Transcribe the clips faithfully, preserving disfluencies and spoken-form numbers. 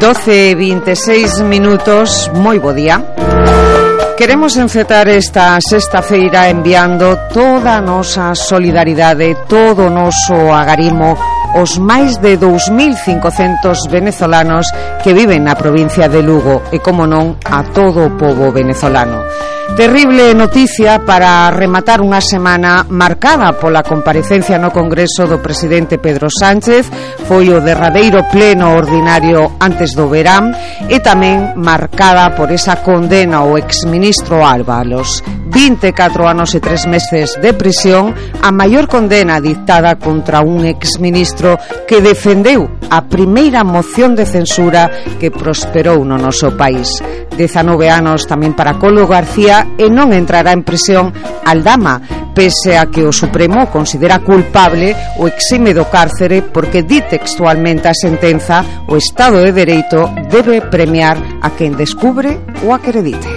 doce e vinte e seis minutos, moi bo día. Queremos encetar esta sexta feira enviando toda a nosa solidaridade, todo o noso agarimo aos máis de dous mil cincocentos venezolanos que viven na provincia de Lugo e, como non, a todo o pobo venezolano. Terrible noticia para rematar unha semana marcada pola comparecencia no Congreso do presidente Pedro Sánchez. Foi o derradeiro pleno ordinario antes do verán e tamén marcada por esa condena ao exministro Ábalos. vinte e catro anos e tres meses de prisión, a maior condena dictada contra un exministro que defendeu a primeira moción de censura que prosperou no noso país. dezanove anos tamén para Colo García e non entrará en prisión Aldama, pese a que o Supremo considera culpable o exime do cárcere porque di textualmente a sentenza: o Estado de Dereito debe premiar a quen descubre ou acredite.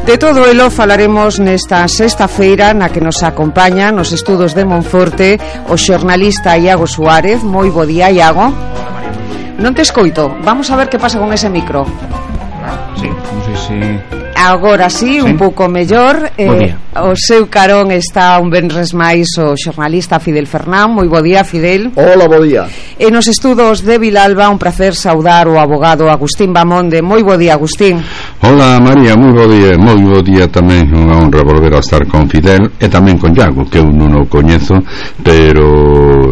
De todo elo falaremos nesta sexta feira na que nos acompaña nos estudos de Monforte o xornalista Iago Suárez. Moi bo día, Iago. Non te escoito, vamos a ver que pasa con ese micro. Sí, non sei se... Agora sí, sí, un pouco mellor. eh, O seu carón está un venres máis o xornalista Fidel Fernán. Moi bo día, Fidel. Hola, bo día. E nos estudos de Vilalba, un placer saudar o abogado Agustín Bamonde. Moi bo día, Agustín. Hola, María, moi bo día. Moi bo día tamén, unha honra volver a estar con Fidel e tamén con Iago, que eu non o coñezo, pero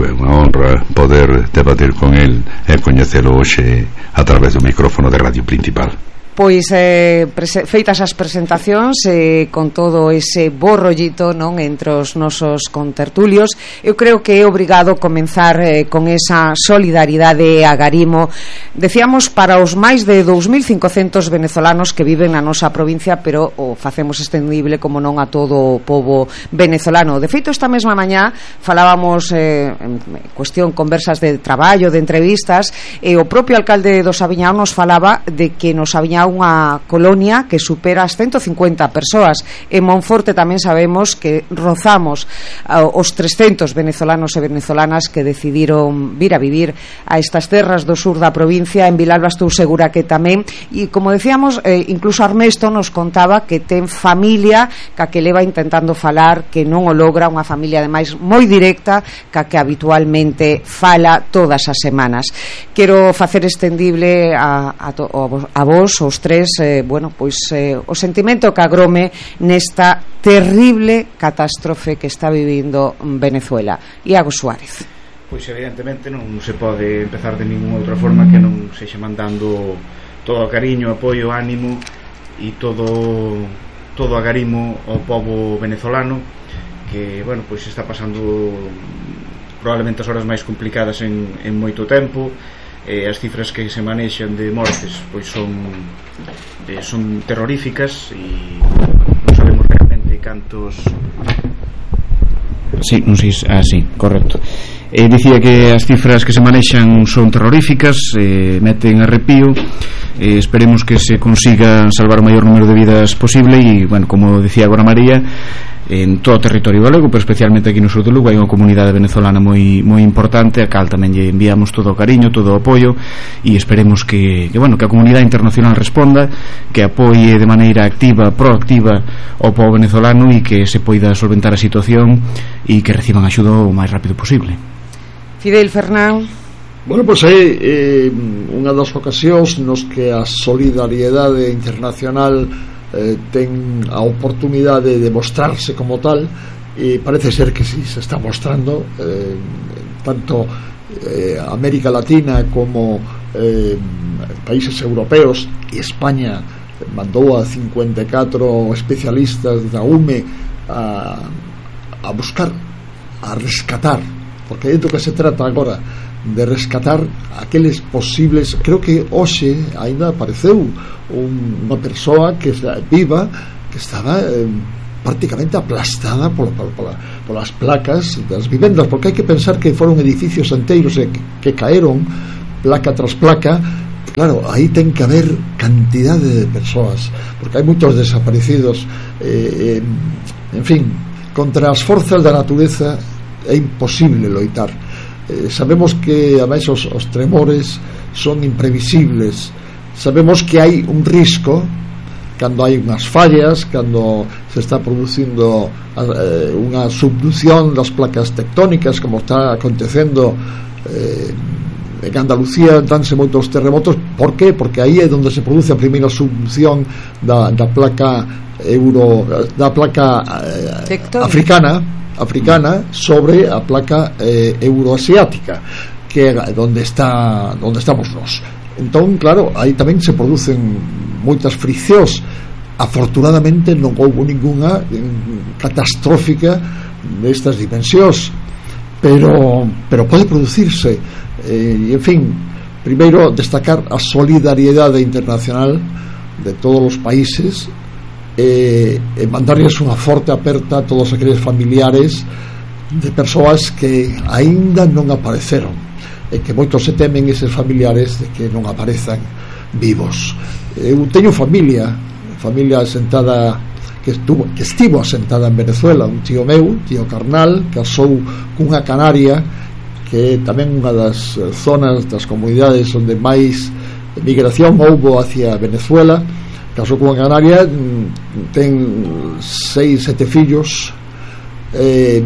é unha honra poder debatir con el e coñecelo hoxe a través do micrófono de Radio Principal. Pois eh, feitas as presentacións eh, con todo ese bo rollito, non, entre os nosos contertulios, eu creo que é obrigado comenzar eh, con esa solidaridade e agarimo, decíamos, para os máis de dous mil cincocentos venezolanos que viven na nosa provincia, pero o facemos extendible, como non, a todo o pobo venezolano. De feito, esta mesma mañá falábamos eh, en cuestión conversas de traballo, de entrevistas, e o propio alcalde do Sabiñao nos falaba de que no Sabiñao unha colonia que supera as ciento cincuenta persoas. En Monforte tamén sabemos que rozamos uh, os trescentos venezolanos e venezolanas que decidiron vir a vivir a estas terras do sur da provincia. En Vilalba estou segura que tamén, e como decíamos, eh, incluso Armesto nos contaba que ten familia ca que leva intentando falar, que non o logra, unha familia ademais moi directa ca que habitualmente fala todas as semanas. Quero facer extendible a, a, to, a vos, os tres, eh, bueno, pois eh, o sentimento que agrome nesta terrible catástrofe que está vivindo Venezuela. Iago Suárez. Pois evidentemente non se pode empezar de ninguna outra forma que non sexa mandando todo o cariño, apoio, ánimo e todo todo o agarimo ao pobo venezolano que, bueno, pois está pasando probablemente as horas máis complicadas en, en moito tempo. Eh, as cifras que se manexan de mortes pois son eh, son terroríficas e non sabemos realmente cantos. Sí, non sei, ah, sí, correcto. Eh, dicía que as cifras que se manexan son terroríficas, eh, meten arrepío. Eh, esperemos que se consiga salvar o maior número de vidas posible e, bueno, como decía agora María, en todo o territorio galego, pero especialmente aquí no sur de Lugo hai unha comunidade venezolana moi moi importante, a cal tamén lle enviamos todo o cariño, todo o apoio e esperemos que, que bueno, que a comunidade internacional responda, que apoie de maneira activa, proactiva ao pobo venezolano e que se poida solventar a situación e que reciban axuda o máis rápido posible. Fidel Fernán. Bueno, pois é eh, unha das ocasións nos que a solidariedade internacional Eh, ten a oportunidade de mostrarse como tal e parece ser que sí se está mostrando eh, tanto eh, América Latina como eh, países europeos, e España mandou a cincuenta e catro especialistas da U M E a, a buscar, a rescatar, porque é do que se trata agora, de rescatar aqueles posibles. Creo que hoxe ainda apareceu un, unha persoa que viva que estaba eh, prácticamente aplastada por, por, por, por las placas das vivendas, porque hai que pensar que foron edificios enteiros eh, que, que caeron placa tras placa. Claro, aí ten que haber cantidade de persoas, porque hai moitos desaparecidos. eh, eh, en fin, contra as forzas da natureza é imposible loitar. Eh, sabemos que ademais os, os tremores son imprevisibles. Sabemos que hai un risco cando hai unhas fallas, cando se está producindo eh, unha subducción das placas tectónicas, como está acontecendo eh, en Andalucía. Danse moitos terremotos. Por qué? Porque aí é onde se produce a primeira subducción da, da placa euro, da placa eh, africana africana sobre a placa eh, euroasiática, que é onde está onde estamos nós. Entón, claro, aí tamén se producen moitas friccións. Afortunadamente non houve ninguna catastrófica destas dimensións, pero pero pode producirse. Eh, e en fin, primeiro destacar a solidariedade internacional de todos os países, eh, e mandarles unha forte aperta a todos aqueles familiares de persoas que aínda non apareceron, e que moitos se temen eses familiares de que non aparezan vivos. Eu teño familia familia asentada que estuvo que estivo asentada en Venezuela. Un tío meu, tío carnal, casou cunha canaria, que é tamén unha das zonas das comunidades onde máis migración houbo hacia Venezuela. Casou cunha canaria, ten seis, sete fillos, eh,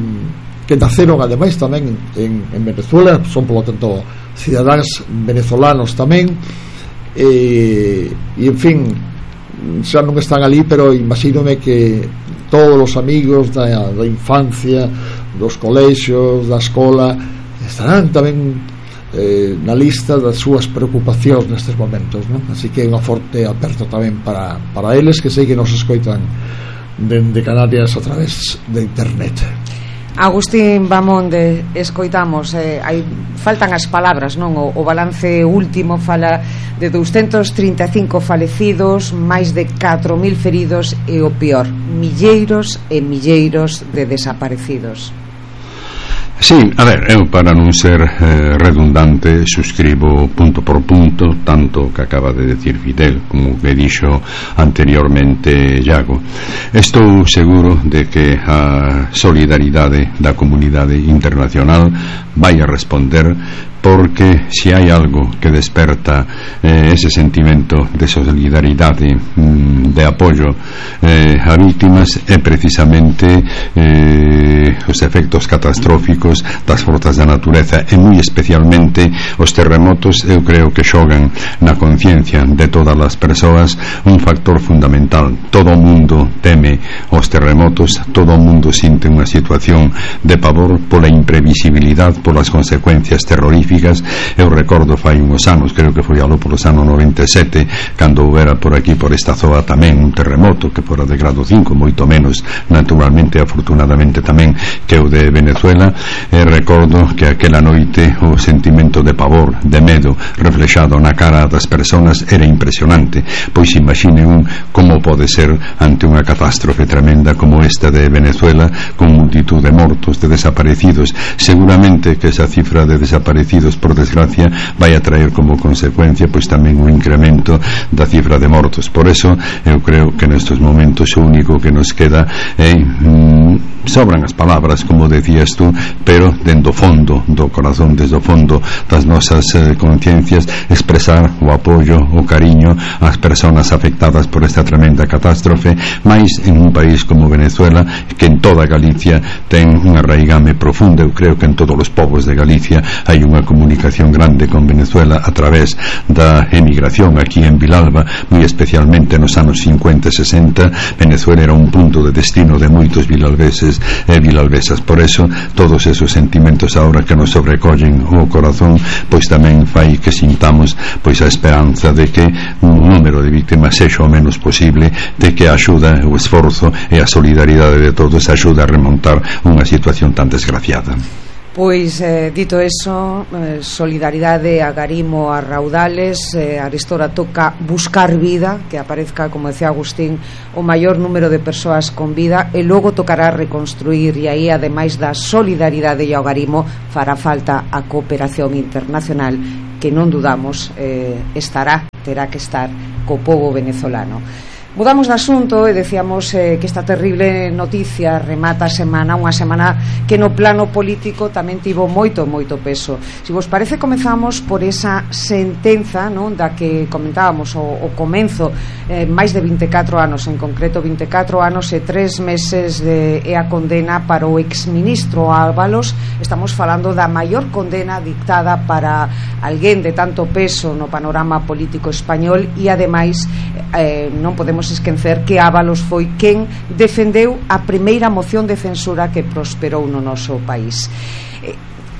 que naceron ademais tamén en, en Venezuela, son polo tanto cidadáns venezolanos tamén, e, e en fin, xa non están ali, pero imagínome que todos os amigos da, da infancia, dos colexios, da escola, estarán tamén eh, na lista das súas preocupacións nestes momentos, non? Así que unha forte aperto tamén para, para eles, que sei que nos escoitan dende Canarias a través de internet. Agustín Bamonde, escoitamos, eh, hai, faltan as palabras, non? O, o balance último fala de doscientos trinta e cinco falecidos, máis de catro mil feridos e o peor, milleiros e milleiros de desaparecidos. Sí, a ver, eu para non ser eh, redundante suscribo punto por punto tanto que acaba de decir Fidel como que dixo anteriormente Iago. Estou seguro de que a solidaridade da comunidade internacional vai a responder, porque se hai algo que desperta eh, ese sentimento de solidaridade, mm, de apoio eh, a víctimas, é precisamente eh, os efectos catastróficos das forzas da natureza, e moi especialmente os terremotos. Eu creo que xogan na conciencia de todas as persoas un factor fundamental. Todo o mundo teme os terremotos, todo o mundo sinte unha situación de pavor pola imprevisibilidade, polas consecuencias terroríficas. Eu recordo fai uns anos, creo que foi alo polos anos noventa e sete, cando houbera por aquí, por esta zoa tamén, un terremoto que fora de grado cinco, moito menos naturalmente, afortunadamente tamén, que o de Venezuela. E recordo que aquela noite o sentimento de pavor, de medo reflexado na cara das persoas era impresionante. Pois imagine un como pode ser ante unha catástrofe tremenda como esta de Venezuela, con multitud de mortos, de desaparecidos. Seguramente que esa cifra de desaparecidos, por desgracia, vai a traer como consecuencia pois tamén un incremento da cifra de mortos. Por eso eu creo que nestes momentos o único que nos queda é mm, sobran as palabras, como decías tú, pero dentro do fondo do corazón, desde o fondo das nosas eh, conciencias, expresar o apoio, o cariño ás persoas afectadas por esta tremenda catástrofe, máis en un país como Venezuela, que en toda Galicia ten unha raigame profunda. Eu creo que en todos os povos de Galicia hai unha comunicación grande con Venezuela a través da emigración. Aquí en Vilalba, moi especialmente nos anos cincuenta e sesenta, Venezuela era un punto de destino de moitos vilalbeses e vilalbesas. Por eso todos esos sentimentos agora que nos sobrecollen o corazón, pois tamén fai que sintamos pois a esperanza de que un número de víctimas sexa o menos posible, de que a axuda, o esforzo e a solidaridade de todos axuda a remontar unha situación tan desgraciada. Pois, eh, dito eso, eh, solidaridade, agarimo a raudales, eh, arestora toca buscar vida, que aparezca, como decía Agustín, o maior número de persoas con vida, e logo tocará reconstruir, e aí, ademais da solidaridade e o agarimo, fará falta a cooperación internacional, que non dudamos eh, estará, terá que estar co pobo venezolano. Mudamos de asunto e decíamos eh, que esta terrible noticia remata a semana, unha semana que no plano político tamén tivo moito, moito peso. Se vos parece, comezamos por esa sentenza, non, da que comentábamos o, o comenzo, eh, máis de vinte e catro anos, en concreto vinte e catro anos e tres meses de, e a condena para o exministro Ábalos. Estamos falando da maior condena dictada para alguén de tanto peso no panorama político español e ademais eh, non podemos esquecer que Ábalos foi quen defendeu a primeira moción de censura que prosperou no noso país.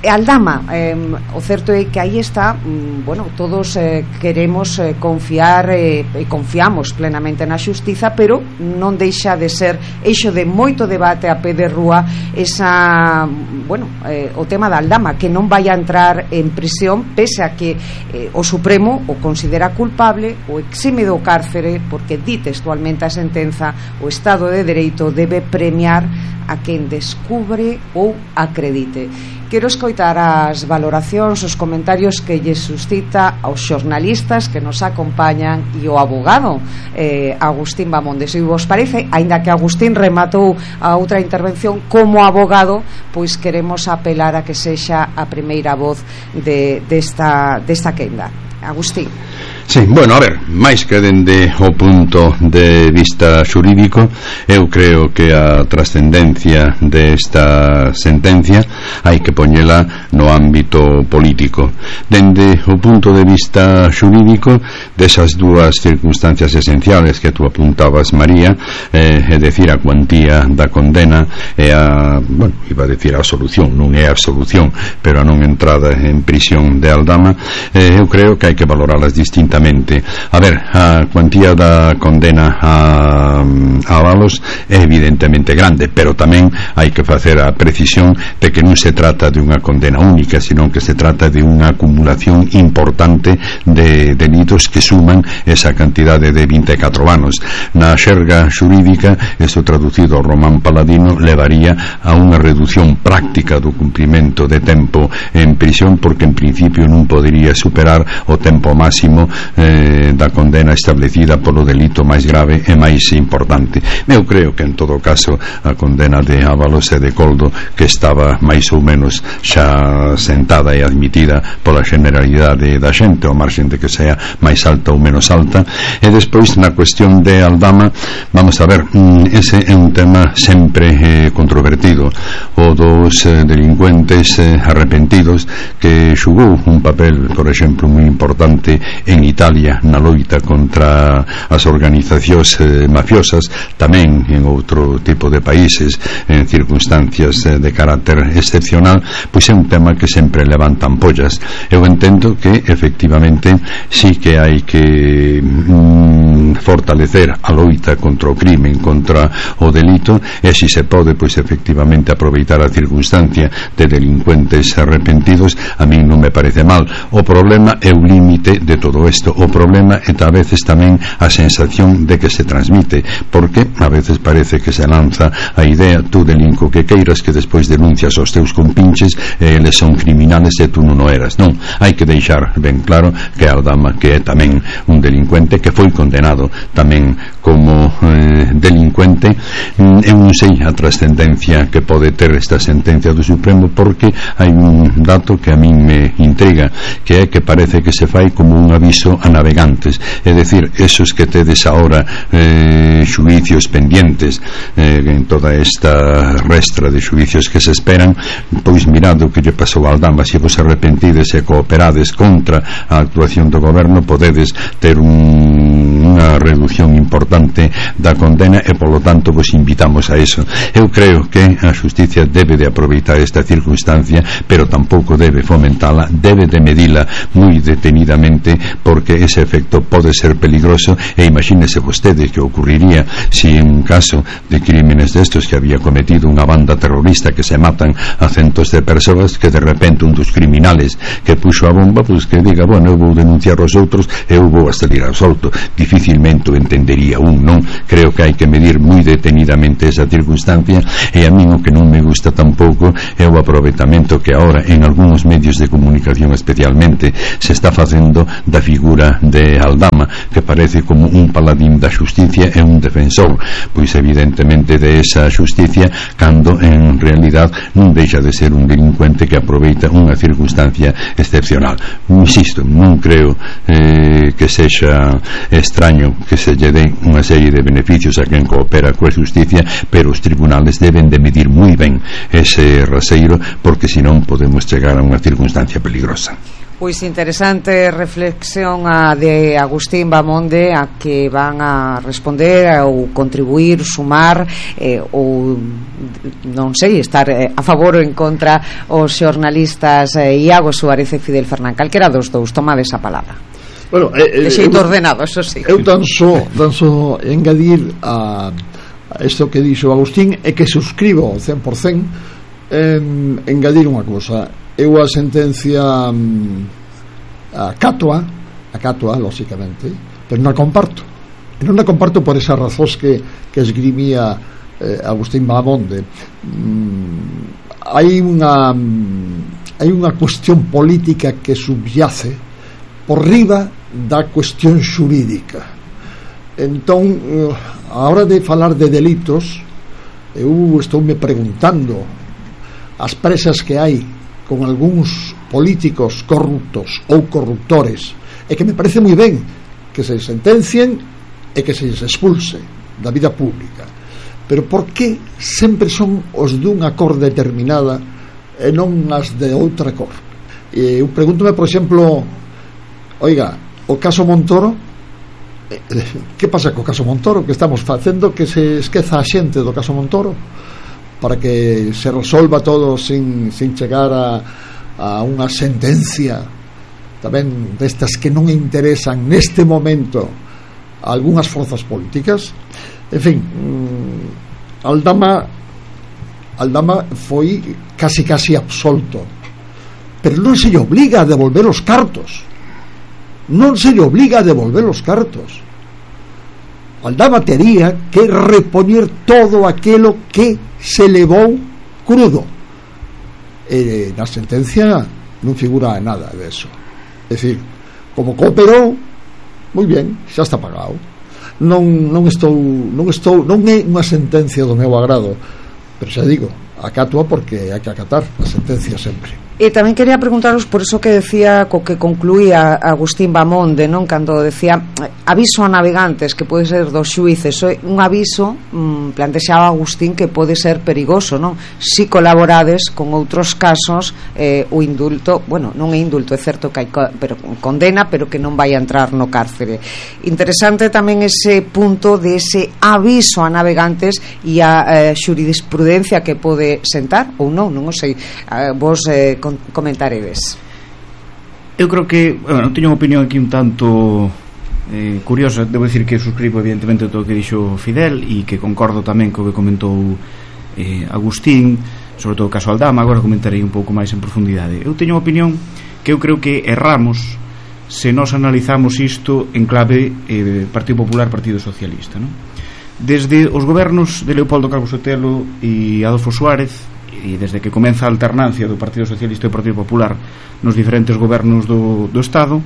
E Aldama, eh, o certo é que aí está, mm, bueno, todos eh, queremos eh, confiar eh, e confiamos plenamente na xustiza, pero non deixa de ser eixo de moito debate a pé de rúa esa, bueno, eh, o tema da Aldama, que non vai a entrar en prisión pese a que eh, o Supremo o considera culpable, o exime do cárcere, porque di textualmente a sentenza: o Estado de Dereito debe premiar a quen descubre ou acredite. Quero escoitar as valoracións, os comentarios que lle suscita aos xornalistas que nos acompañan e o abogado eh, Agustín Bamonde. Se vos parece, aínda que Agustín rematou a outra intervención como abogado, pois queremos apelar a que sexa a primeira voz de, desta, desta quenda. Agustín. Sí, bueno, a ver, máis que dende o punto de vista xurídico, eu creo que a trascendencia desta sentencia hai que poñela no ámbito político. Dende o punto de vista xurídico, desas dúas circunstancias esenciales que tú apuntabas, María, eh, é decir, a cuantía da condena e a, bueno, iba a decir a solución, non é a absolución, pero a non entrada en prisión de Aldama, eh, eu creo que hai que valoralas distintamente. A ver, a cuantía da condena a, a Ábalos é evidentemente grande, pero tamén hai que facer a precisión de que non se trata de unha condena única, sino que se trata de unha acumulación importante de delitos que suman esa cantidade de vinte e catro anos. Na xerga xurídica, isto traducido ao román paladino, levaría a unha reducción práctica do cumprimento de tempo en prisión, porque en principio non podería superar o tempo máximo Eh, da condena establecida polo delito máis grave e máis importante. Eu creo que en todo caso a condena de Ábalos e de Coldo, que estaba máis ou menos xa sentada e admitida pola generalidade da xente, ao marxen de que sea máis alta ou menos alta. E despois, na cuestión de Aldama, vamos a ver, ese é un tema sempre eh, controvertido, o dos eh, delincuentes eh, arrepentidos, que xugou un papel, por exemplo, moi importante en Italia na loita contra as organizacións eh, mafiosas, tamén en outro tipo de países en circunstancias eh, de carácter excepcional. Pois é un tema que sempre levanta ampollas. Eu entendo que efectivamente sí que hai que mm, fortalecer a loita contra o crimen, contra o delito, e si se pode, pois efectivamente aproveitar a circunstancia de delincuentes arrepentidos, a mí non me parece mal. O problema é o límite de todo isto. O problema é a veces tamén a sensación de que se transmite, porque a veces parece que se lanza a idea: tú delinco que queiras, que despois denuncias aos teus compinches e eles son criminales e tú non o eras. Non, hai que deixar ben claro que Aldama, que é tamén un delincuente, que foi condenado tamén como eh, delincuente. Eu non sei a trascendencia que pode ter esta sentencia do Supremo, porque hai un dato que a min me intriga, que é que parece que se fai como un aviso a navegantes, é dicir, esos que tedes ahora eh, xuicios pendientes eh, en toda esta restra de xuicios que se esperan, pois mirado que lle pasou a Aldama, se vos arrepentides e cooperades contra a actuación do goberno, podedes ter un, unha reducción importante da condena, e polo tanto vos invitamos a eso. Eu creo que a xusticia debe de aproveitar esta circunstancia, pero tampouco debe fomentala, debe de medila moi detenidamente, porque ese efecto pode ser peligroso. E imagínese vostede que ocurriría si en un caso de crímenes destos que había cometido unha banda terrorista, que se matan a centos de persoas, que de repente un dos criminales que puxo a bomba, pois que diga, bueno, eu vou denunciar aos outros e eu vou a salir absolto. Difícil dificilmente o entendería un, non? Creo que hai que medir moi detenidamente esa circunstancia, e a min o que non me gusta tampouco é o aproveitamento que agora en algúns medios de comunicación especialmente se está facendo da figura de Aldama, que parece como un paladín da xusticia e un defensor, pois evidentemente de esa xusticia, cando en realidad non deixa de ser un delincuente que aproveita unha circunstancia excepcional. Insisto, non creo eh, que sexa extraño que se lle den unha serie de beneficios a quen coopera coa xusticia, pero os tribunales deben de medir moi ben ese raseiro, porque senón podemos chegar a unha circunstancia peligrosa. Pois interesante reflexión a de Agustín Bamonde, a que van a responder ou contribuir, sumar eh, ou non sei, estar eh, a favor ou en contra os xornalistas eh, Iago Suárez e Fidel Fernán. Calquera dos dous, tomade esa palabra. Bueno, eh, de xeito ordenado, eso sí. Eu tan só, tan só engadir a, a isto que dixo Agustín, e que suscribo cen por cen, eh, engadir unha cousa. Eu a sentencia a cátoa, a cátoa, lógicamente, pero non a comparto. E non a comparto por esas razóns que, que esgrimía eh, Agustín Bamonde. Mm, hai unha hai unha cuestión política que subyace por riba da cuestión xurídica. Entón, eh, a hora de falar de delitos, eu estou me preguntando as presas que hai con algúns políticos corruptos ou corruptores, e que me parece moi ben que se sentencien e que se expulse da vida pública, pero por que sempre son os dunha cor determinada e non as de outra cor? E eu pregúntome, por exemplo, oiga, o caso Montoro, que pasa co caso Montoro? Que estamos facendo que se esqueza a xente do caso Montoro para que se resolva todo sin, sin chegar a, a unha sentencia tamén destas que non interesan neste momento a algunhas forzas políticas. En fin, Aldama Aldama foi casi casi absolto, pero non se lle obliga a devolver os cartos, non se lle obliga a devolver os cartos. Aldama tería que repoñer todo aquilo que se levou crudo, e na sentencia non figura nada de eso. É dicir, como cooperou, moi ben, xa está pagado. Non, non estou non estou non é unha sentencia do meu agrado, pero xa digo, acátoo porque hai que acatar a sentencia sempre. E tamén quería preguntaros por eso que decía, co que concluía Agustín Bamonde, non, cando decía aviso a navegantes, que pode ser dos xuíces. Un aviso, mmm, plantexaba Agustín, que pode ser perigoso, non? Si colaborades con outros casos, eh, o indulto, bueno, non é indulto, é certo que hai co- pero condena, pero que non vai a entrar no cárcere. Interesante tamén ese punto de ese aviso a navegantes e a eh, xurisprudencia que pode sentar ou non, non o sei. Eh, vos eh, comentaredes. Eu creo que, bueno, teño unha opinión aquí un tanto eh, curiosa. Debo decir que suscribo evidentemente todo o que dixo Fidel e que concordo tamén co que comentou eh, Agustín, sobre todo o caso Aldama. Agora comentarei un pouco máis en profundidade. Eu teño unha opinión que eu creo que erramos se nos analizamos isto en clave eh, Partido Popular, Partido Socialista, non? Desde os gobernos de Leopoldo Calvo Sotelo e Adolfo Suárez, e desde que comeza a alternancia do Partido Socialista e do Partido Popular nos diferentes gobernos do, do Estado,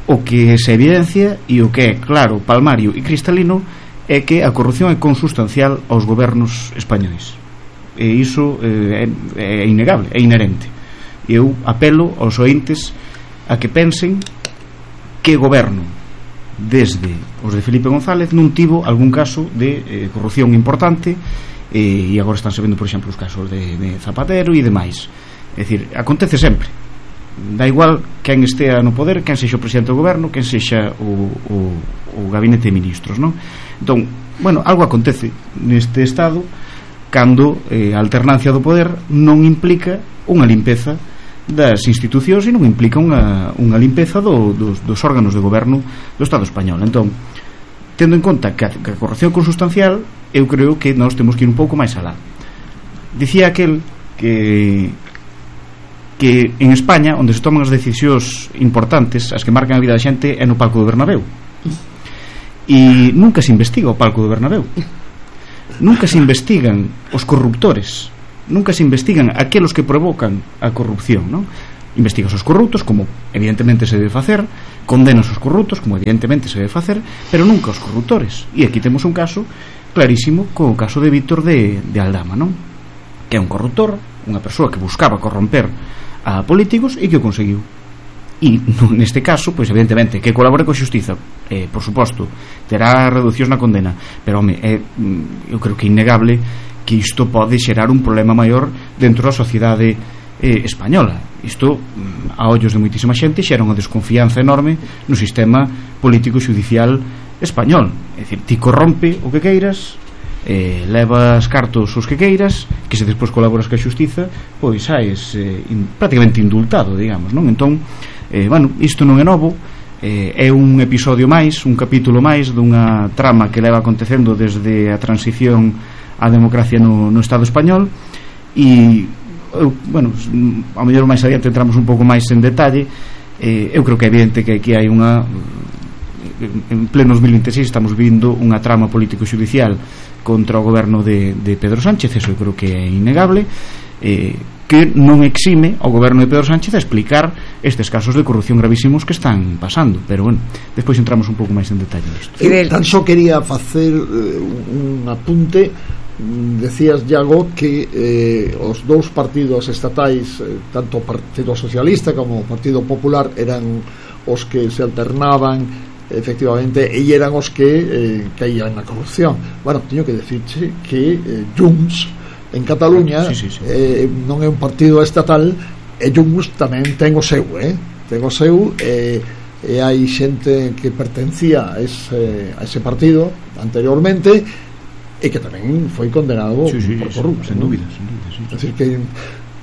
o que se evidencia e o que é claro, palmario e cristalino é que a corrupción é consustancial aos gobernos españois, e iso eh, é, é innegable, é inherente. E eu apelo aos ointes a que pensen que goberno desde os de Felipe González non tivo algún caso de eh, corrupción importante. E agora están sabendo, por exemplo, os casos de, de Zapatero e demais. É dicir, acontece sempre, dá igual quen estea no poder, quen sexa o presidente do goberno, quen sexa o, o, o gabinete de ministros, non? Entón, bueno, algo acontece neste estado cando eh, a alternancia do poder non implica unha limpeza das institucións e non implica unha, unha limpeza do, dos, dos órganos de goberno do Estado español. Entón, tendo en conta que a, que a corrupción consustancial, eu creo que nós temos que ir un pouco máis alá. Dicía aquel que que en España, onde se toman as decisións importantes, as que marcan a vida da xente, é no palco do Bernabéu. e nunca se investiga o palco do Bernabéu, nunca se investigan os corruptores, nunca se investigan aqueles que provocan a corrupción, non? Investigas os corruptos, como evidentemente se debe facer, condenas os corruptos, como evidentemente se debe facer, pero nunca os corruptores. E aquí temos un caso clarísimo co caso de Víctor de, de Aldama, non? Que é un corruptor, unha persoa que buscaba corromper a políticos e que o conseguiu. E neste caso, pois evidentemente que colabore coa xustiza, eh, por suposto, terá reducións na condena, pero home, é, eu creo que é innegable que isto pode xerar un problema maior dentro da sociedade eh, española. Isto, a ollos de moitísima xente, xera unha desconfianza enorme no sistema político e judicial español. É dicir, ti corrompe o que queiras, eh, levas cartos os que queiras, que se despois colaboras coa xustiza, pois saes eh, in, prácticamente indultado, digamos, non? Entón, eh, bueno, isto non é novo, eh, é un episodio máis, un capítulo máis dunha trama que leva acontecendo desde a transición á democracia no, no Estado español. E eu, bueno, ao mellor máis adiante entramos un pouco máis en detalle. eh, eu creo que é evidente que aquí hai unha, en pleno dos mil vinte e seis estamos vindo unha trama político-judicial contra o goberno de, de Pedro Sánchez, eso eu creo que é innegable, eh, que non exime ao goberno de Pedro Sánchez a explicar estes casos de corrupción gravísimos que están pasando. Pero bueno, despois entramos un pouco máis en detalle nisto. Eu tan só quería facer eh, un apunte. Decías, Iago, que eh, os dous partidos estatais, eh, tanto o Partido Socialista como o Partido Popular, eran os que se alternaban efectivamente e eran os que eh, caían na corrupción. Bueno, teño que decirche que eh, Junts en Cataluña sí, sí, sí. Eh, non é un partido estatal, e Junts tamén ten o seu, eh? ten o seu eh, e hai xente que pertencía a ese, a ese partido anteriormente e que tamén foi condenado sí, sí, por corrupto, sen dúbida, sen dúbida, sí. É dicir que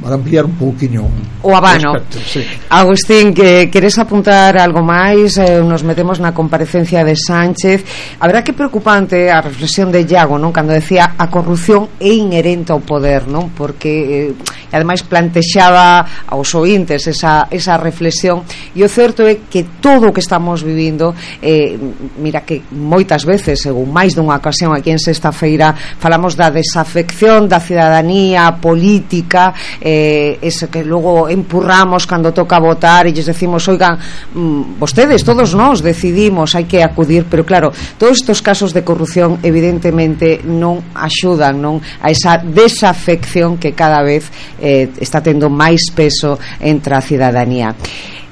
para ampliar un pouquiño o abano. Sí. Agustín, que queres apuntar algo máis? Eh, nos metemos na comparecencia de Sánchez. A verdad que preocupante a reflexión de Iago, non? Cando decía a corrupción é inherente ao poder, non? Porque eh, ademais plantexaba aos ointes esa, esa reflexión, e o certo é que todo o que estamos vivindo, eh, mira que moitas veces, según máis dunha ocasión aquí en Sexta Feira, falamos da desafección da cidadanía política, eh, ese que logo empurramos cando toca votar e lles decimos, oigan, mmm, vostedes, todos nós decidimos, hai que acudir, pero claro, todos estes casos de corrupción evidentemente non axudan, non, a esa desafección que cada vez eh, está tendo máis peso entre a cidadanía.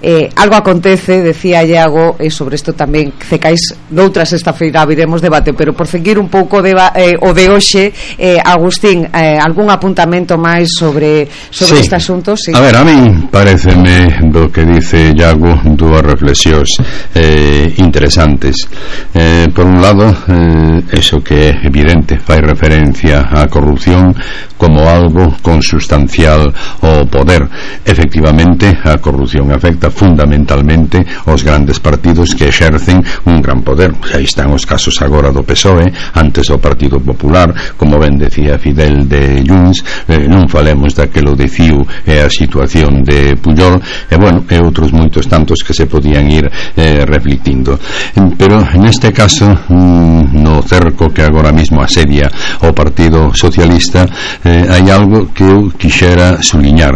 Eh, algo acontece, decía Iago, e sobre isto tamén cecais noutra Sexta Feira viremos debate, pero por seguir un pouco de, eh, o de hoxe, eh, Agustín, eh, algún apuntamento máis sobre, sobre sí. este asunto? Sí. A ver, a mí pareceme do que dice Iago dúas reflexións eh, interesantes. Eh, por un lado, eh, eso que é evidente, fai referencia á corrupción como algo consustancial ao poder. Efectivamente, a corrupción afecta fundamentalmente os grandes partidos que exercen un gran poder. Aí están os casos agora do P S O E, antes o Partido Popular, como ben decía Fidel de Junts, eh, non falemos daquelo de C I U e a situación de Pujol, e bueno, e outros moitos tantos que se podían ir eh, reflectindo. Pero neste caso, mm, no cerco que agora mismo asedia o Partido Socialista, eh, hai algo que eu quixera suliñar.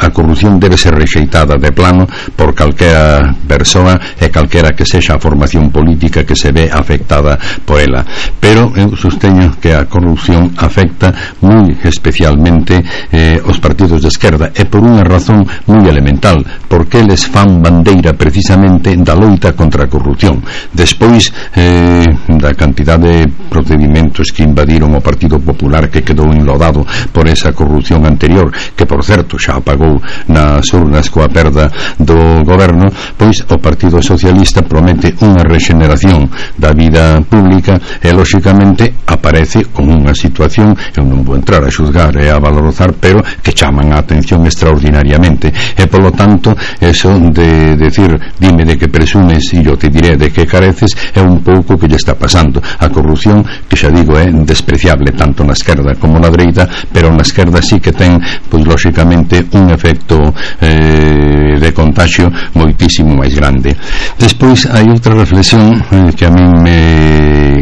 A corrupción debe ser rexeitada de plano por calquera persoa e calquera que sexa a formación política que se ve afectada por ela, pero eu sosteño que a corrupción afecta moi especialmente eh, os partidos de esquerda, e por unha razón moi elemental, porque eles fan bandeira precisamente da loita contra a corrupción. Despois eh, da cantidad de procedimentos que invadiron o Partido Popular, que quedou enlodado por esa corrupción anterior, que por certo xa apagou nas urnas coa perda do goberno, pois o Partido Socialista promete unha rexeneración da vida pública e lóxicamente aparece con unha situación, eu non vou entrar a xuzgar e a valorizar, pero que chaman a atención extraordinariamente, e polo tanto eso de decir, dime de que presumes e eu te diré de que careces, é un pouco que lle está pasando. a corrupción, que xa digo é despreciable tanto na esquerda como na dereita, pero na esquerda sí que ten, pois lóxicamente, un efecto eh, de contagio moitísimo máis grande. Despois hai outra reflexión eh, que a mí me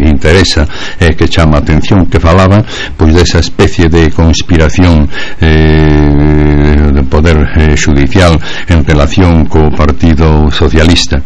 interesa e eh, que chama a atención, que falaba pois desa especie de conspiración eh, de poder eh, judicial en relación co Partido Socialista.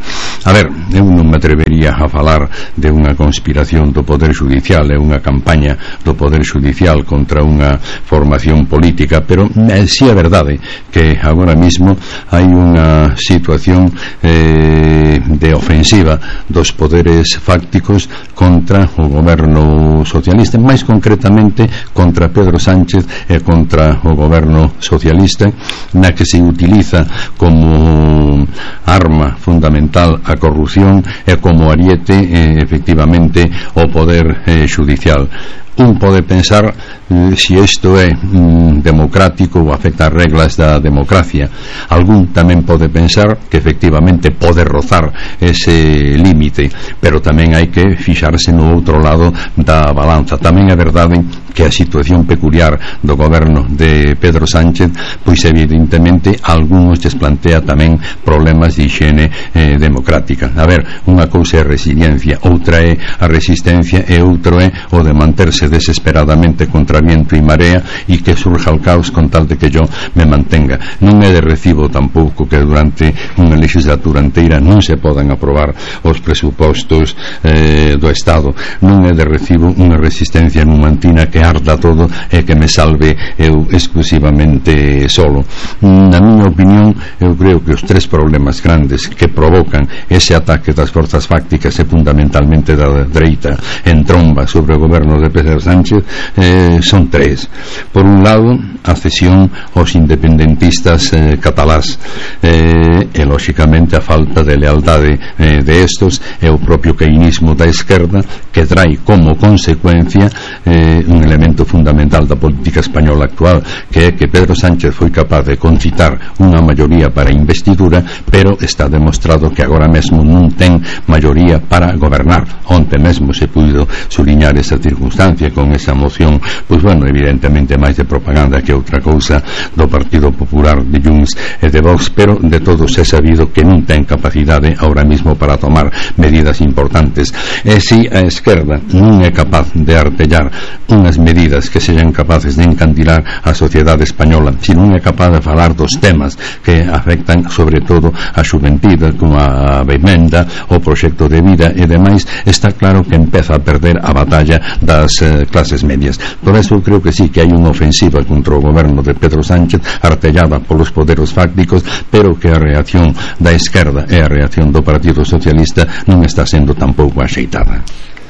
A ver, eu non me atrevería a falar de unha conspiración do Poder Judicial, é unha campaña do Poder Judicial contra unha formación política, pero eh, si é verdade que agora mismo hai unha situación eh, de ofensiva dos poderes fácticos contra o goberno socialista, máis concretamente contra Pedro Sánchez e contra o goberno socialista, na que se utiliza como arma fundamental a corrupción e como ariete eh, efectivamente o poder eh, judicial. Un pode pensar eh, si isto é mm, democrático ou afecta as reglas da democracia. Algún tamén pode pensar que efectivamente pode rozar ese límite, pero tamén hai que fixarse no outro lado da balanza. Tamén é verdade que a situación peculiar do goberno de Pedro Sánchez, pois evidentemente algúns lles plantea tamén problemas de higiene eh, democrática. A ver, unha cousa é a resiliencia, outra é a resistencia e outro é o de manterse desesperadamente contra viento e marea e que surja o caos con tal de que yo me mantenga. Non é de recibo tampouco que durante unha legislatura inteira non se podan aprobar os presupostos eh, do Estado. Non é de recibo unha resistencia numantina que arda todo e que me salve eu exclusivamente solo. Na miña opinión, eu creo que os tres problemas grandes que provocan ese ataque das forzas fácticas e fundamentalmente da dereita en tromba sobre o goberno de Pedro Sánchez eh, son tres. Por un lado, a cesión aos independentistas eh, catalás eh, e lóxicamente a falta de lealdade eh, de estos e o propio caínismo da esquerda, que trae como consecuencia eh, un elemento fundamental da política española actual, que é que Pedro Sánchez foi capaz de concitar unha maioría para a investidura, pero está demostrado que agora mesmo non ten maioría para gobernar. Onte mesmo se puido suliñar esa circunstancia con esa moción, pois bueno, evidentemente máis de propaganda que outra cousa do Partido Popular, de Junts e de Vox, pero de todos é sabido que non ten capacidade ahora mismo para tomar medidas importantes. E si a esquerda non é capaz de artellar unhas medidas que sexan capaces de encandilar a sociedade española, si non é capaz de falar dos temas que afectan sobre todo a xuventude, como a vivenda, o proxecto de vida e demais, está claro que empeza a perder a batalla das eh, clases medias. Por eso creo que sí que hai unha ofensiva contra o goberno de Pedro Sánchez artellada polos poderes fácticos, pero que a reacción da esquerda e a reacción do Partido Socialista non está sendo tampouco axeitada.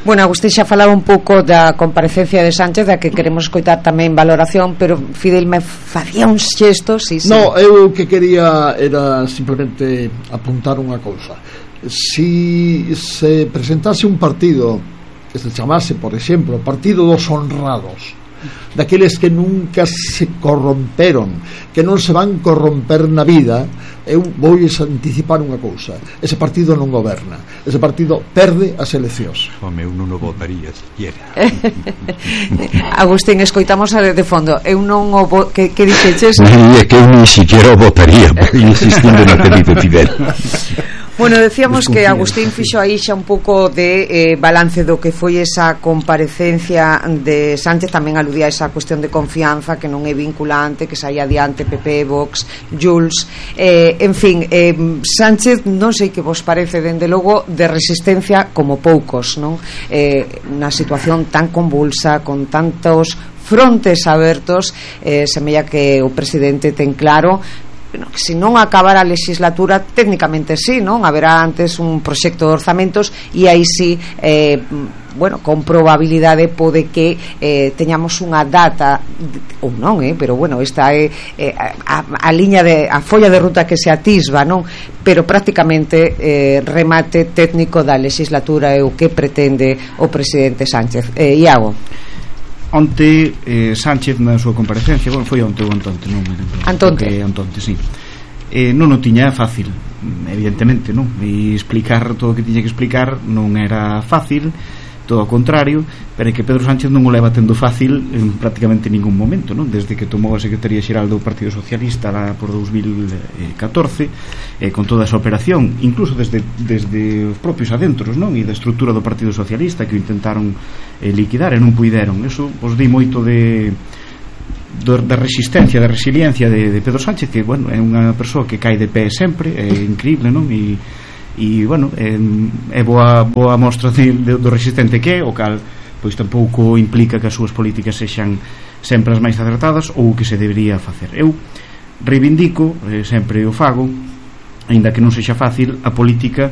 Bueno, Agustín xa falaba un pouco da comparecencia de Sánchez, da que queremos escoitar tamén valoración, pero Fidel me facía uns xestos. Sí, sí. No, eu que quería era simplemente apuntar unha cousa. Si se presentase un partido que se chamase, por exemplo, Partido dos Honrados, daqueles que nunca se corromperon, que non se van corromper na vida, eu vou anticipar unha cousa: ese partido non goberna, ese partido perde as eleccións. Home, eu non o votaría siquiera. Agustín, escoitamos de fondo. Eu non o vo... que, que dixeches? É que eu ni siquiera o votaría, insistindo no que dice Fidel. Bueno, decíamos que Agustín fixo aí xa un pouco de eh, balance do que foi esa comparecencia de Sánchez, tamén aludía a esa cuestión de confianza que non é vinculante, que saía adiante P P, Vox, Junts, eh, en fin, eh, Sánchez non sei que vos parece, dende logo de resistencia como poucos, non? Eh, na situación tan convulsa, con tantos frontes abertos, eh, semella que o presidente ten claro que se non acabara a legislatura, técnicamente sí, non? Haberá antes un proxecto de orzamentos e aí sí, eh, bueno, con probabilidade pode que eh, teñamos unha data ou non, eh, pero bueno, esta é eh, a, a liña de a folla de ruta que se atisba, non? Pero prácticamente eh, remate técnico da legislatura é o que pretende o presidente Sánchez. eh, Iago. Onte eh, Sánchez na súa comparecencia, bueno, foi onte ou antonte, non me lembro. Antonte. Que, antonte, sí. Eh, non o tiña fácil, evidentemente, non? E explicar todo o que tiña que explicar non era fácil, todo ao contrario, pero é que Pedro Sánchez non o leva tendo fácil en prácticamente ningún momento, non? Desde que tomou a Secretaría Xeral do Partido Socialista lá por dous mil catorce, eh, con toda esa operación, incluso desde, desde os propios adentros, non? E da estrutura do Partido Socialista que o intentaron eh, liquidar e non puideron. Eso os di moito de da resistencia, da resiliencia de, de Pedro Sánchez, que, bueno, é unha persoa que cae de pé sempre, é increíble, non? E e, bueno, é, é boa, boa mostra de, de, do resistente que é, o cal pois tampouco implica que as súas políticas sexan sempre as máis acertadas ou o que se debería facer. Eu reivindico, eh, sempre o fago, aínda que non sexa fácil, a política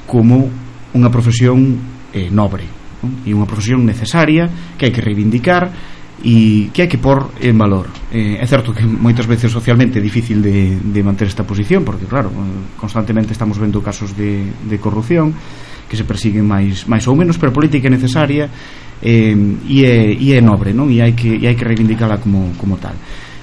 como unha profesión eh, nobre, non? E unha profesión necesaria que hai que reivindicar e que hai que pôr en valor. Eh, é certo que moitas veces socialmente é difícil de, de manter esta posición, porque claro, constantemente estamos vendo casos de, de corrupción que se persiguen máis, máis ou menos, pero a política é necesaria eh, e, é, e é nobre, non? E hai que, e hai que reivindicala como, como tal.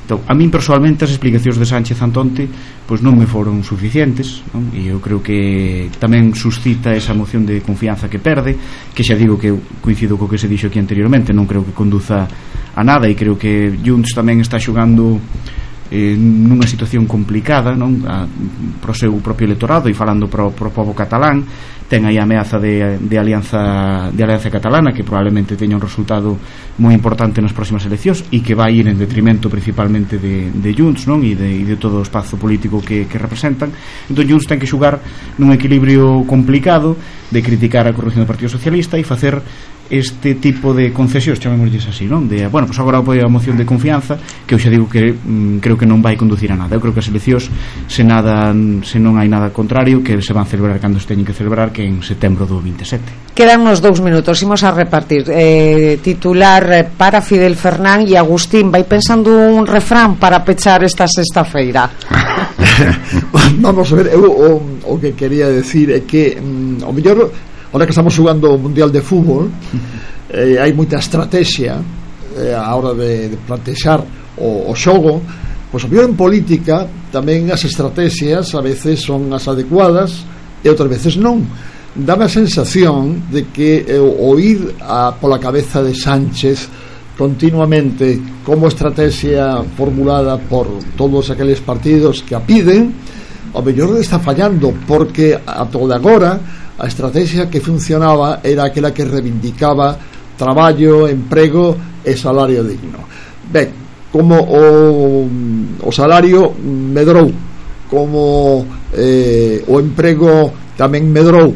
Entón, a min personalmente as explicacións de Sánchez Antonte pois non me foron suficientes, non? E eu creo que tamén suscita esa moción de confianza que perde, que xa digo que eu coincido co que se dixo aquí anteriormente, non creo que conduza a nada, e creo que Junts tamén está xogando eh, nunha situación complicada, non? A, pro seu propio electorado, e falando pro, pro povo catalán, ten aí a ameaza de, de alianza de alianza catalana, que probablemente teña un resultado moi importante nas próximas eleccións e que vai ir en detrimento principalmente de, de Junts, non? E de, e de todo o espazo político que, que representan. Entón Junts ten que xogar nun equilibrio complicado de criticar a corrupción do Partido Socialista e facer este tipo de concesións, chamémoslles así, non? De, bueno, pois agora apoio a moción de confianza, que eu xa digo que mm, creo que non vai conducir a nada. Eu creo que as eleccións, se nada, se non hai nada contrario, que se van celebrar cando se teñen que celebrar, que en setembro do veinte e sete. Quedan uns dous minutos, imos a repartir eh, titular para Fidel Fernán e Agustín. Vai pensando un refrán para pechar esta sexta feira. Vamos a ver, eu o, o que quería decir é que mm, o mellor, ahora que estamos jugando o Mundial de Fútbol, eh, hai moita estrategia eh, a hora de, de plantexar o, o xogo. Pois o mellor en política tamén as estrategias a veces son as adecuadas e outras veces non. Dame a sensación de que eh, o ir a, pola cabeza de Sánchez continuamente como estrategia formulada por todos aqueles partidos que a piden, o mellor está fallando, porque a toda agora a estrategia que funcionaba era aquela que reivindicaba traballo, emprego e salario digno. Ben, como o, o salario medrou, como eh, o emprego tamén medrou,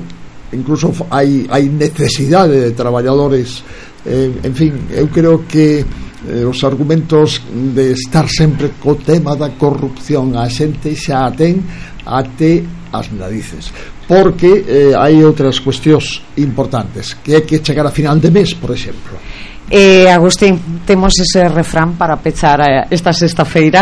incluso hai, hai necesidade de traballadores, eh, en fin, eu creo que eh, os argumentos de estar sempre co tema da corrupción a xente xa a ten até as narices, porque eh, hai outras cuestións importantes, que hai que chegar a final de mes, por exemplo. eh, Agustín, temos ese refrán para pechar esta sexta feira?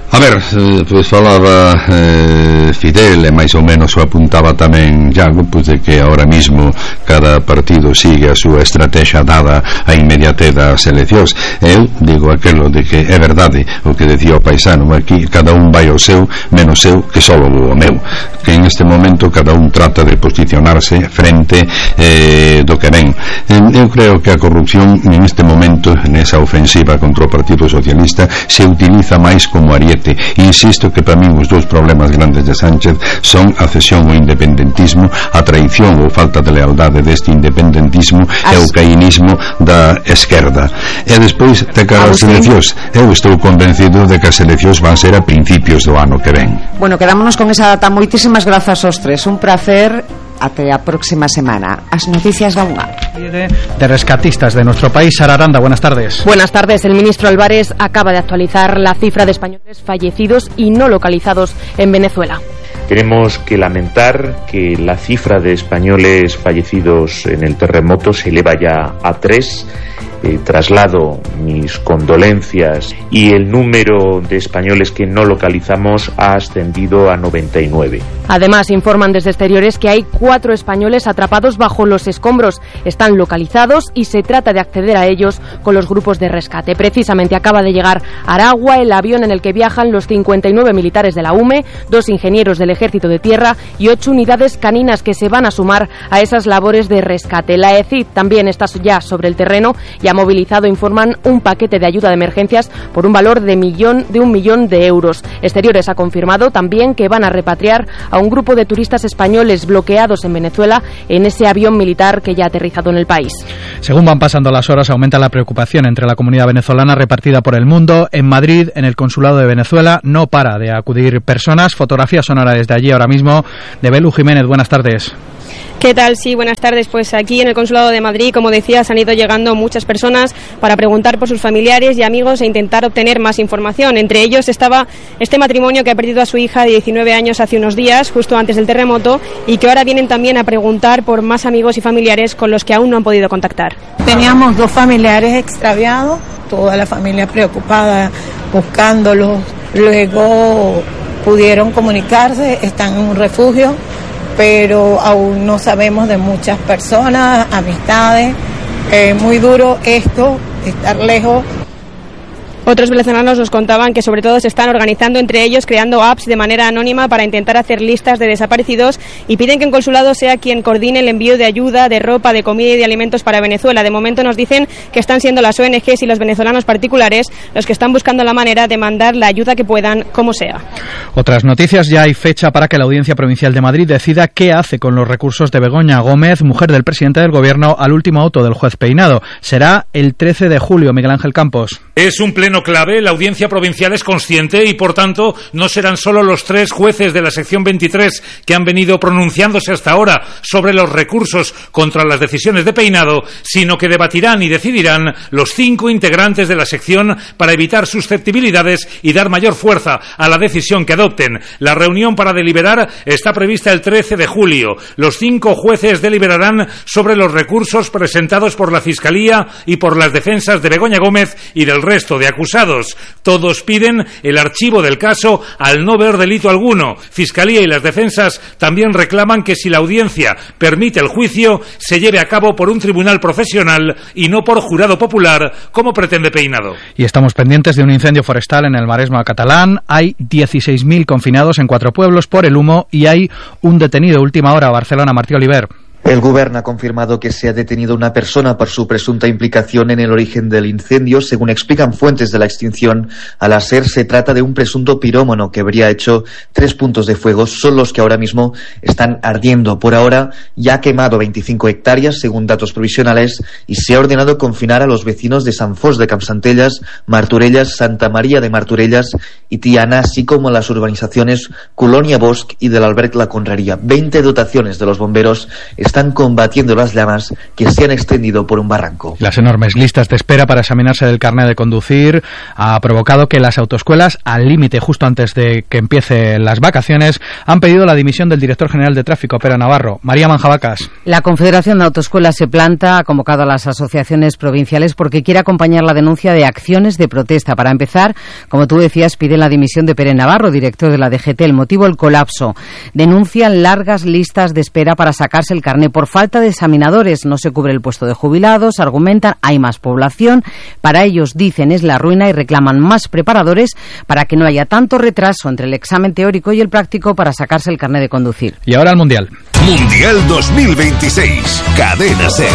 A ver, eh, pois falaba eh, Fidel, e máis ou menos o apuntaba tamén Iago, pois de que ahora mismo cada partido sigue a súa estrategia dada a inmediate das eleccións. Eu digo aquelo de que é verdade o que decía o paisano, aquí cada un vai ao seu, menos eu que só o meu, que en este momento cada un trata de posicionarse frente eh, do que ven. Eu creo que a corrupción en este momento, nesa ofensiva contra o Partido Socialista, se utiliza máis como ariete. Insisto que para min os dous problemas grandes de Sánchez son a cesión ao independentismo, a traición ou falta de lealdade deste independentismo As... e o cainismo da esquerda. E despois de cara ás eleccións, eu estou convencido de que as eleccións van ser a principios do ano que ven. Bueno, quedámonos con esa data. Moitísimas grazas aos tres, un placer. Até a próxima semana. As noticias da U N A. De rescatistas de nuestro país, Sara Aranda, buenas tardes. Buenas tardes. El ministro Álvarez acaba de actualizar la cifra de españoles fallecidos y no localizados en Venezuela. Tenemos que lamentar que la cifra de españoles fallecidos en el terremoto se eleva ya a tres. Eh, traslado mis condolencias, y el número de españoles que no localizamos ha ascendido a noventa y nueve. Además, informan desde exteriores que hay cuatro españoles atrapados bajo los escombros. Están localizados y se trata de acceder a ellos con los grupos de rescate. Precisamente acaba de llegar a Aragua el avión en el que viajan los cincuenta y nueve militares de la U M E, dos ingenieros del Ejército de Tierra y ocho unidades caninas que se van a sumar a esas labores de rescate. La E C I D también está ya sobre el terreno y ha movilizado, informan, un paquete de ayuda de emergencias por un valor de, millón, de un millón de euros. Exteriores ha confirmado también que van a repatriar a un grupo de turistas españoles bloqueados en Venezuela en ese avión militar que ya ha aterrizado en el país. Según van pasando las horas, aumenta la preocupación entre la comunidad venezolana repartida por el mundo. En Madrid, en el Consulado de Venezuela, no para de acudir personas. Fotografía sonora desde allí ahora mismo de Belu Jiménez. Buenas tardes. ¿Qué tal? Sí, buenas tardes. Pues aquí en el Consulado de Madrid, como decías, han ido llegando muchas personas para preguntar por sus familiares y amigos e intentar obtener más información. Entre ellos estaba este matrimonio que ha perdido a su hija de diecinueve años hace unos días, justo antes del terremoto, y que ahora vienen también a preguntar por más amigos y familiares con los que aún no han podido contactar. Teníamos dos familiares extraviados, toda la familia preocupada, buscándolos. Luego pudieron comunicarse, están en un refugio, pero aún no sabemos de muchas personas, amistades. Es muy duro esto, estar lejos. Otros venezolanos nos contaban que sobre todo se están organizando entre ellos, creando apps de manera anónima para intentar hacer listas de desaparecidos, y piden que el consulado sea quien coordine el envío de ayuda, de ropa, de comida y de alimentos para Venezuela. De momento nos dicen que están siendo las O N Ges y los venezolanos particulares los que están buscando la manera de mandar la ayuda que puedan, como sea. Otras noticias: ya hay fecha para que la Audiencia Provincial de Madrid decida qué hace con los recursos de Begoña Gómez, mujer del presidente del Gobierno, al último auto del juez Peinado. Será el trece de julio. Miguel Ángel Campos. Es un pleno clave. La Audiencia Provincial es consciente y, por tanto, no serán solo los tres jueces de la sección veintitrés que han venido pronunciándose hasta ahora sobre los recursos contra las decisiones de Peinado, sino que debatirán y decidirán los cinco integrantes de la sección para evitar susceptibilidades y dar mayor fuerza a la decisión que adopten. La reunión para deliberar está prevista el trece de julio. Los cinco jueces deliberarán sobre los recursos presentados por la Fiscalía y por las defensas de Begoña Gómez y del resto de acusados. Todos piden el archivo del caso al no ver delito alguno. Fiscalía y las defensas también reclaman que si la audiencia permite el juicio, se lleve a cabo por un tribunal profesional y no por jurado popular, como pretende Peinado. Y estamos pendientes de un incendio forestal en el Maresma catalán. Hay dieciséis mil confinados en cuatro pueblos por el humo y hay un detenido. Última hora, Barcelona, Martí Oliver. El Gobierno ha confirmado que se ha detenido una persona por su presunta implicación en el origen del incendio. Según explican fuentes de la extinción, al ASER se trata de un presunto pirómano que habría hecho tres puntos de fuego, son los que ahora mismo están ardiendo. Por ahora ya ha quemado veinticinco hectáreas, según datos provisionales, y se ha ordenado confinar a los vecinos de San Fos de Campsantellas, Martorelles, Santa María de Martorelles y Tiana, así como las urbanizaciones Colonia Bosch y del Alberg La Conrería. veinte dotaciones de los bomberos están están combatiendo las llamas que se han extendido por un barranco. Las enormes listas de espera para examinarse del carnet de conducir ha provocado que las autoescuelas, al límite justo antes de que empiecen las vacaciones, han pedido la dimisión del director general de tráfico, Pera Navarro. María Manjabacas. La Confederación de Autoescuelas se planta, ha convocado a las asociaciones provinciales porque quiere acompañar la denuncia de acciones de protesta. Para empezar, como tú decías, piden la dimisión de Pere Navarro, director de la D G T. El motivo, el colapso. Denuncian largas listas de espera para sacarse el carnet por falta de examinadores. No se cubre el puesto de jubilados, argumentan, hay más población. Para ellos, dicen, es la ruina y reclaman más preparadores para que no haya tanto retraso entre el examen teórico y el práctico para sacarse el carnet de conducir. Y ahora el Mundial. Mundial dos mil veintiséis. Cadena SER.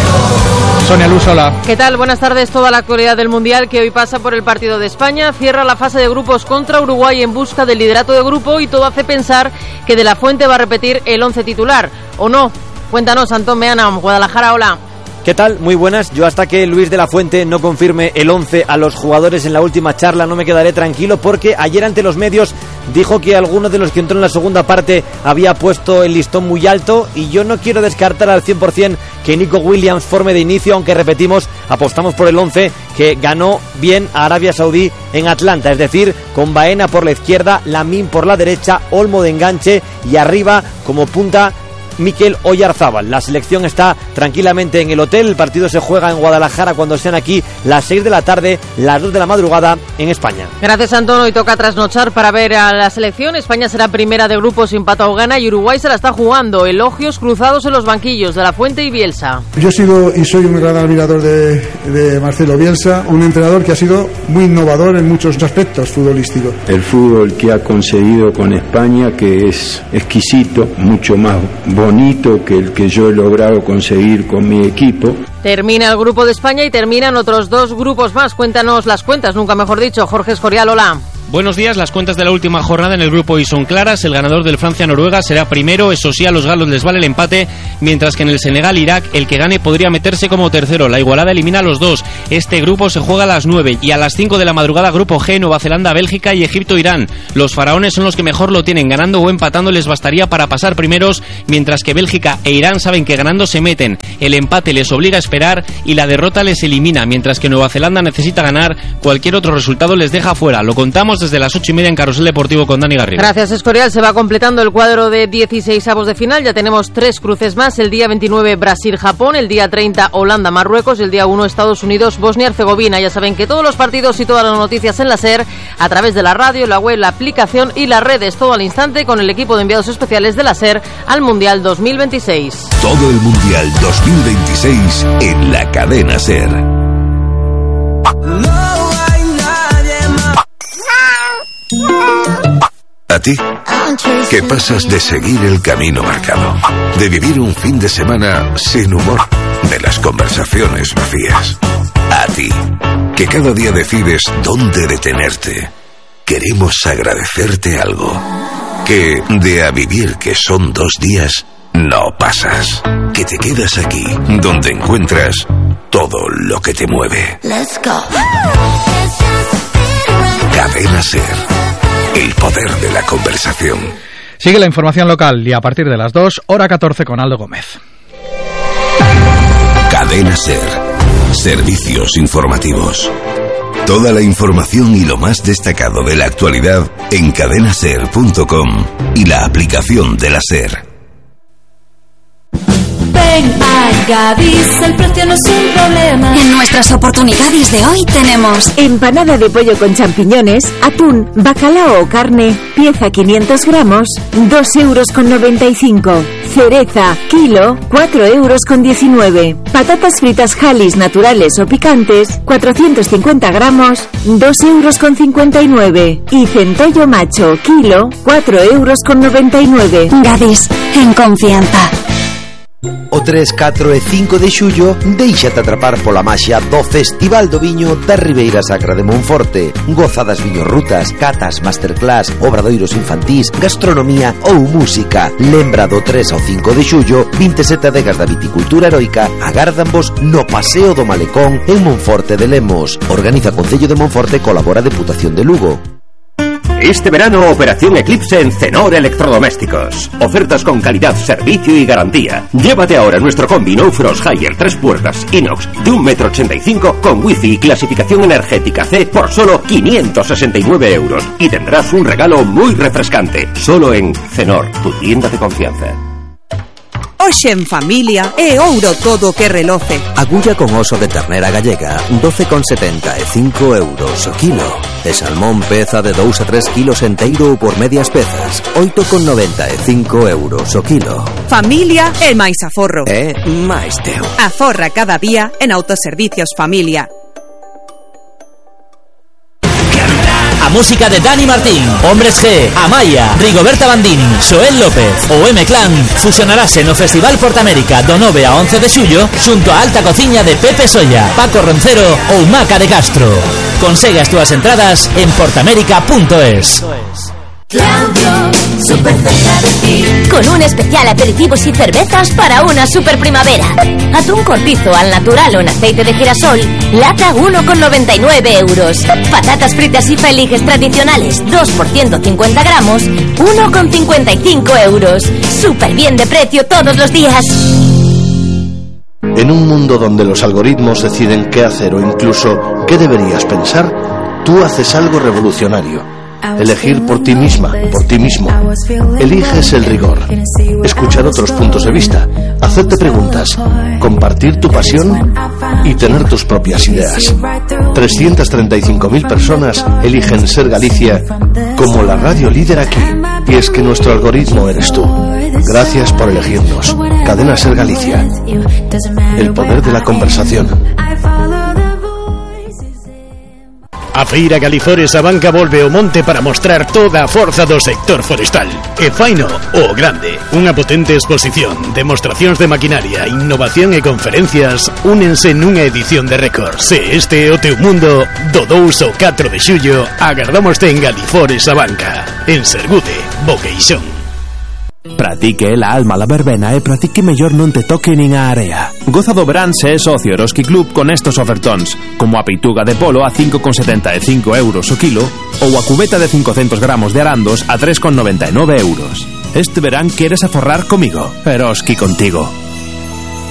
Sonia Luz, hola. ¿Qué tal? Buenas tardes. Toda la actualidad del Mundial que hoy pasa por el partido de España. Cierra la fase de grupos contra Uruguay en busca del liderato de grupo y todo hace pensar que De la Fuente va a repetir el once titular. ¿O no? Cuéntanos, Antón Meana, Guadalajara, hola. ¿Qué tal? Muy buenas. Yo hasta que Luis de la Fuente no confirme el once a los jugadores en la última charla no me quedaré tranquilo, porque ayer ante los medios dijo que alguno de los que entró en la segunda parte había puesto el listón muy alto, y yo no quiero descartar al cien por ciento que Nico Williams forme de inicio, aunque repetimos, apostamos por el once que ganó bien a Arabia Saudí en Atlanta, es decir, con Baena por la izquierda, Lamine por la derecha, Olmo de enganche y arriba como punta Mikel Oyarzábal. La selección está tranquilamente en el hotel, el partido se juega en Guadalajara cuando sean aquí las seis de la tarde, las dos de la madrugada en España. Gracias, Antón. Hoy toca trasnochar para ver a la selección. España será primera de grupo sin empata o gana y Uruguay se la está jugando. Elogios cruzados en los banquillos de La Fuente y Bielsa. Yo he sido y soy un gran admirador de, de Marcelo Bielsa, un entrenador que ha sido muy innovador en muchos aspectos futbolísticos. El fútbol que ha conseguido con España, que es exquisito, mucho más bonito que el que yo he logrado conseguir con mi equipo. Termina el grupo de España y terminan otros dos grupos más. Cuéntanos las cuentas, nunca mejor dicho. Jorge Escorial, hola. Buenos días, las cuentas de la última jornada en el grupo hoy son claras. El ganador del Francia-Noruega será primero, eso sí, a los galos les vale el empate, mientras que en el Senegal-Irak el que gane podría meterse como tercero. La igualada elimina a los dos. Este grupo se juega a las nueve y a las cinco de la madrugada grupo G, Nueva Zelanda, Bélgica y Egipto-Irán. Los faraones son los que mejor lo tienen, ganando o empatando les bastaría para pasar primeros, mientras que Bélgica e Irán saben que ganando se meten. El empate les obliga a esperar y la derrota les elimina, mientras que Nueva Zelanda necesita ganar, cualquier otro resultado les deja fuera. Lo contamos desde las ocho y media en Carrusel Deportivo con Dani Garrido. Gracias, Escorial. Se va completando el cuadro de dieciséis avos de final. Ya tenemos tres cruces más. El día veintinueve Brasil-Japón, el día treinta Holanda-Marruecos y el día uno Estados Unidos-Bosnia-Herzegovina. Ya saben que todos los partidos y todas las noticias en la SER, a través de la radio, la web, la aplicación y las redes. Todo al instante con el equipo de enviados especiales de la SER al Mundial dos mil veintiséis. Todo el Mundial dos mil veintiséis en la cadena SER. A ti, que pasas de seguir el camino marcado, de vivir un fin de semana sin humor, de las conversaciones vacías. A ti, que cada día decides dónde detenerte. Queremos agradecerte algo. Que de a vivir que son dos días, no pasas. Que te quedas aquí, donde encuentras todo lo que te mueve. Let's go. Cadena SER. El poder de la conversación. Sigue la información local y a partir de las dos, hora catorce con Aldo Gómez. Cadena SER. Servicios informativos. Toda la información y lo más destacado de la actualidad en cadena ser punto com y la aplicación de la SER. Ven a Gadis, el precio no es un problema. En nuestras oportunidades de hoy tenemos empanada de pollo con champiñones, atún, bacalao o carne, pieza quinientos gramos, dos euros con noventa y cinco. Cereza, kilo, cuatro euros con diecinueve. Patatas fritas Halis naturales o picantes, cuatrocientos cincuenta gramos, dos euros con cincuenta y nueve. Y centollo macho, kilo, cuatro euros con noventa y nueve. Gadis, en confianza. O tres, catro e cinco de xullo déixate atrapar pola maxia do Festival do Viño da Ribeira Sacra de Monforte. Gozadas viñorrutas, catas, masterclass, obradoiros infantís, gastronomía ou música. Lembra do tres ao cinco de xullo, vinte e sete adegas da viticultura heroica agárdanvos no Paseo do Malecón en Monforte de Lemos. Organiza Concello de Monforte, colabora Deputación de Lugo. Este verano, Operación Eclipse en Cenor Electrodomésticos. Ofertas con calidad, servicio y garantía. Llévate ahora nuestro combi No Frost Higher tres puertas inox de un metro ochenta y cinco con wifi y clasificación energética C por solo quinientos sesenta y nueve euros. Y tendrás un regalo muy refrescante. Solo en Cenor, tu tienda de confianza. Hoxe en familia é ouro todo que reloce. Agulla con oso de ternera gallega, doce con setenta e cinco euros o kilo. E salmón peza de dous a tres kilos enteiro ou por medias pezas, oito con noventa e cinco euros o kilo. Familia é máis aforro. É máis teu. Aforra cada día en Autoservicios Familia. A música de Dani Martín, Hombres G, Amaya, Rigoberta Bandini, Xoel López ou M-Clan fusionarase no Festival Portamérica do nove a once de xullo xunto a alta cociña de Pepe Solla, Paco Roncero ou Maca de Castro. Consegue as túas entradas en portamérica punto es. Claudio, súper cerca de ti. Con un especial aperitivos y cervezas para una super primavera. Atún cortizo al natural o en aceite de girasol, lata uno con noventa y nueve euros. Patatas fritas y feliges tradicionales, dos por ciento cincuenta gramos, uno con cincuenta y cinco euros. Súper bien de precio todos los días. En un mundo donde los algoritmos deciden qué hacer o incluso qué deberías pensar, tú haces algo revolucionario. elegir por ti misma, por ti mismo. Eliges el rigor, escuchar otros puntos de vista, hacerte preguntas, compartir tu pasión y tener tus propias ideas. trescientas treinta y cinco mil personas eligen Ser Galicia como la radio líder aquí. Y es que nuestro algoritmo eres tú. Gracias por elegirnos. Cadena Ser Galicia. El poder de la conversación. A Feira Galifores a Banca volve ao monte para mostrar toda a forza do sector forestal. E faino o grande. Unha potente exposición, demostracións de maquinaria, innovación e conferencias únense nunha edición de récord. Se este é o teu mundo, do dous ao catro de xullo, agardámoste en Galifores a Banca. En Sergude, Boqueixón. Pra ti que é la alma la verbena e pra ti que mellor non te toque nin a area. Goza do verán se é socio Eroski Club con estos ofertóns, como a peituga de polo a cinco con setenta e cinco euros o kilo ou a cubeta de cincocentos gramos de arandos a tres con noventa e nove euros. Este verán queres aforrar comigo. Eroski contigo.